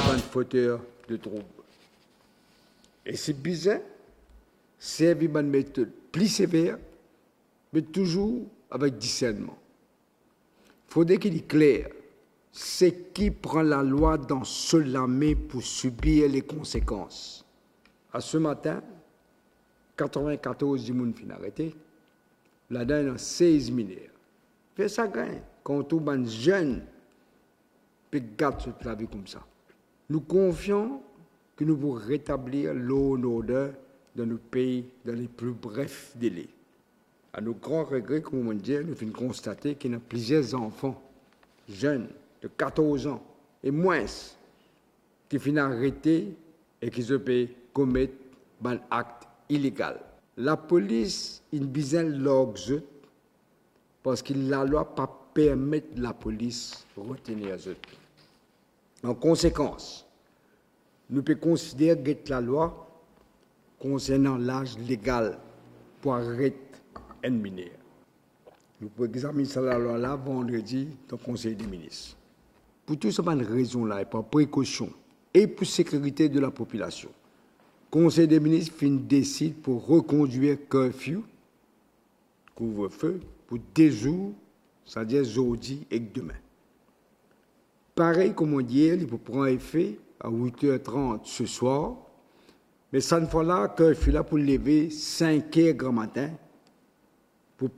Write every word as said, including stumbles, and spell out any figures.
bann foter de troub. E si bizin, servi bann metod pli sever, me touzour avek disernman. Fode ki li kler, seki pran lalwa dan so lame pou sibir lekonsekans. A se matin, katrevin-katorz dimoun finn arete, ladan ena sez miner. Fer sagrin kan ou trouv bann zenn pe gat zot lavi koumsa. Nou konfian ki nou pou retablir law and order dan nou pei dan le pli bref dele. A nou gran regre, kouma mo dir, nou finn konstate ki ena plizier zanfan, zenn de katorz an e mwins, ki finn arete e ki zot pe komet bann akt ilegal. Lapolis inn bizin larg zot, parski lalwa pa permet lapolis retenir zot. An konsekans, nou pe konsider get lalwa konsernan laz legal pou aret enn miner. Nou pou examinn sa lalwa la vandredi dan Konsey de Minis. Pou tou sa bann rezon la e par prekosion e pou sekirite de lapopilasion, Konsey de Minis finn desid pou rekondwir curfew, kouvrefe, pou de zour, savedir zordi ek demin. Parey kouma mo dir, li pou pran efe a wit er trant se swar, me sann fwa la, curfew la pou leve sink er gramatin pou